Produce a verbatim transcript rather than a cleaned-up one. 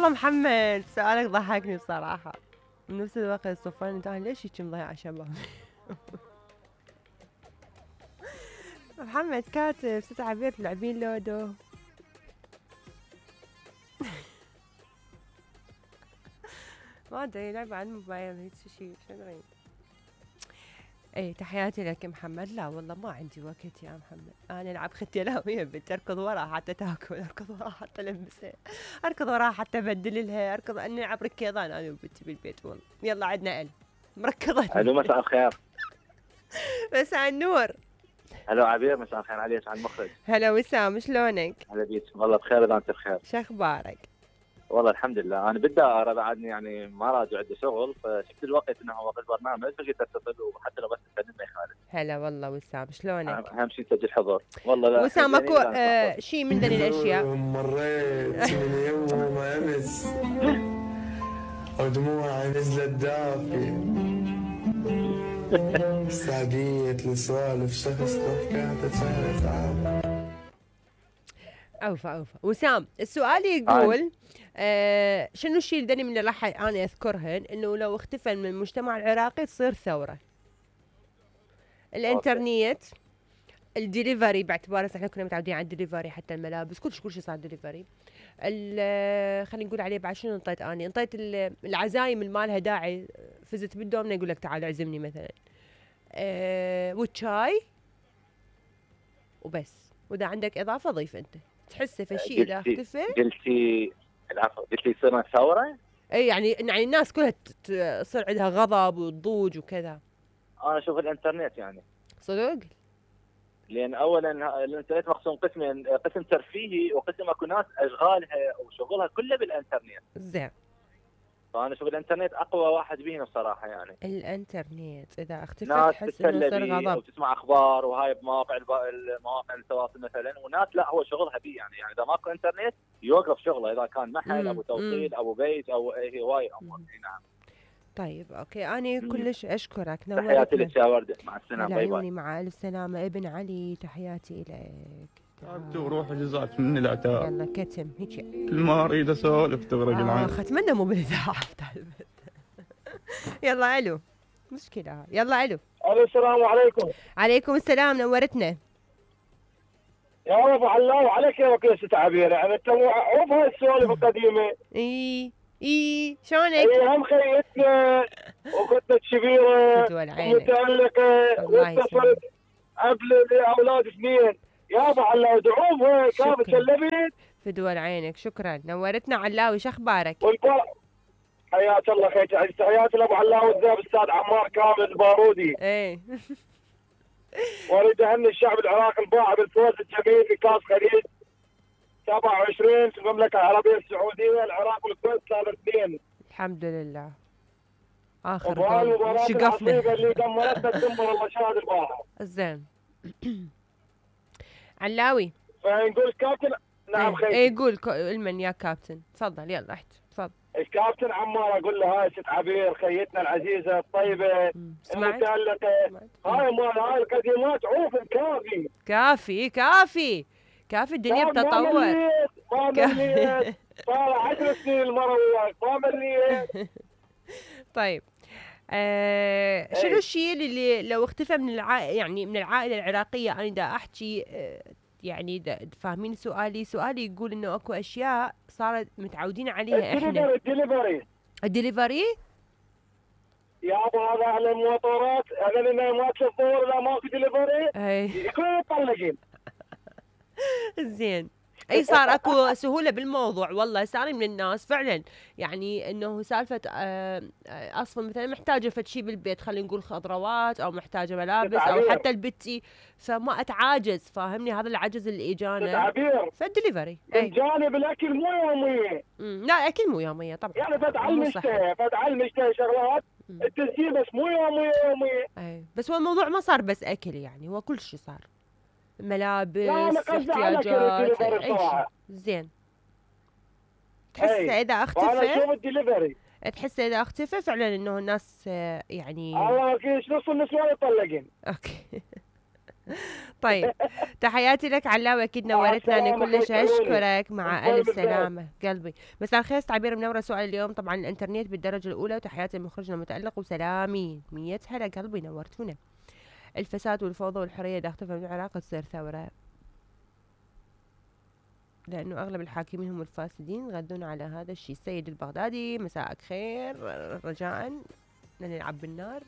والله محمد سؤالك ضحكني بصراحة. بنفس الوقت صفان انت ليش هيك مضيع شباب؟ محمد كاتب ست عبير تلعبين لودو. ما ادري لعبة على الموبايل هيك شيء شو ادري. اي تحياتي لك محمد. لا والله ما عندي وقت يا محمد، انا العب ختلاوية بنت اركض وراها حتى تاكل، اركض وراها حتى البسها، اركض وراها حتى ابدل لها، اركض اني العب ركيضان انا وبنتي بالبيت والله. يلا عندنا ال مركضة. الو مساء الخير. مساء النور. الو عبير مساء الخير عليك على المخرج. هلا وسام شلونك؟ هلا بيك والله بخير اذا انت بخير. شو اخبارك؟ والله الحمد لله. انا بالدائره بعدني يعني ما راجع عندي شغل، فشفت الوقت انه وقت البرنامج فجيت اتصل وحتى لو بس تكلم ما يخالف. هلا والله وسام شلونك؟ اهم شيء تسجل حضور. والله لا وسام اكو آه شيء من ذي الاشياء. مريت من يوم امس ودموعي نزلت دافيه سعدية لسوالف شخص كانت ثلاث عام. اوفى اوفى وسام السؤال يقول آه شنو الشيء الذي من اللي راح انا اذكرهن انه لو اختفى من المجتمع العراقي تصير ثوره؟ الانترنت، الدليفري باعتبار احنا كنا متعودين على الدليفري، حتى الملابس كل شيء كل شيء صار دليفري. خلينا نقول عليه بعد شنو انطيت اني انطيت العزايم اللي ما لها داعي، فزت بالدومنه يقول لك تعال اعزمني مثلا. أه والشاي وبس. واذا عندك اضافه ضيف انت تحسه في شيء اذا اختفى. قلتي العفو قلتي صرنا ثوره؟ اي يعني يعني الناس كلها تصير عندها غضب وضوج وكذا. انا اشوف الانترنت يعني صدق؟ لان اولا الانترنت مقسوم قسمين، قسم ترفيهي وقسم اكو ناس اشغالها وشغلها كله بالانترنت. زين. فانا اشوف الانترنت اقوى واحد بيهم الصراحه يعني. الانترنت اذا اختفى ناس تحس انه يصير غضب وتسمع اخبار وهاي بمواقع المواقع التواصل مثلا، وناس لا هو شغلها بيه يعني يعني اذا ماكو انترنت يوقف شغله، اذا كان محل ابو توصيل ابو بيت او هواي امور. نعم. طيب اوكي انا كلش اشكرك. تحياتي لك يا ورده مع السلامه. باي باي. مع الف سلامه ابن علي. تحياتي لك. تعبت وروح جزات مني العتاب. يلا كتم هيك كل ما اريد اسولف تغرق العين. اخ اتمنى مو بالاذاعه. يلا الو مشكله. يلا الو. الو السلام عليكم. عليكم السلام نورتنا. يا ابو علاو عليك يا وكيل ست عبير يعني انت عوف هاي السوالف القديمه. اي اي شلونك؟ اي هم خيتنا وكنت كبيره ومتالقه واتصلت قبل اولاد اثنين. يا ابو علاوي دعوم كافه شلبت في دول عينك. شكرا نورتنا علاوي. شو اخبارك؟ حياك الله خير. تحياتي لابو علاوي الذهب استاذ عمار كامل البارودي. ايه واريد اهني الشعب العراقي الباعث بالفوز الجميل في كاس خليج سبعة وعشرين في المملكه العربيه السعوديه. العراق والكويت صار اثنين. الحمد لله. اخر جول شقفنا اللي دمرتنا تدمر الله شاهد البارحه. زين. علاوي فنقول كابتن. نعم خير. اي قول المن يا كابتن. تفضل يلا احكي تفضل. الكابتن عمار اقول له هاي ست عبير خيتنا العزيزه الطيبه المتالقه هاي مال هاي القديمات عوف كافي كافي كافي كافي الدنيا بتطور. ما مليت صار عشر سنين المره وياك ما مليت. طيب آه شنو الشيء اللي لو اختفى من العائله يعني من العائله العراقيه انا دا احكي آه يعني فاهمين سؤالي؟ سؤالي يقول انه اكو اشياء صارت متعودين عليها احنا. الدليفري الدليفري يا ابو هذا على الموتورات هذول ما تشوفون لا ماكو دليفري يكونوا مطلقين. زين. اي صار اكو سهوله بالموضوع والله. صار من الناس فعلا يعني انه سالفه اصلا مثلا محتاجه فد شيء بالبيت خلينا نقول خضروات او محتاجه ملابس او حتى البتي فما اتعاجز. فاهمني هذا العجز اللي اجانا فالدليفري. من جانب الاكل مو يوميه. لا اكل مو يوميه طبعا يعني فد على المشتهى فد على المشتهى شغلات التسجيل بس مو يوميه يوميه. اي بس هو الموضوع ما صار بس اكل يعني هو كل شيء صار ملابس احتياجات اي شيء. زين. تحس اذا اختفى تحس اذا اختفى فعلا انه الناس يعني الله اكيد نص النسوان يطلقين. اوكي. طيب تحياتي لك علاوي، اكيد نورتنا، انا كلش اشكرك. مع الف سلامه قلبي. مساء الخير تعبير منوره. سؤال اليوم طبعا الانترنت بالدرجه الاولى، وتحياتي لمخرجنا المتالق وسلامي. مية هلا قلبي نورتونا. الفساد والفوضى والحريه اذا اختفى من العراق تصير ثوره، لانه اغلب الحاكمين هم الفاسدين يغذون على هذا الشيء. السيد البغدادي مساءك خير، رجاء لا نلعب بالنار.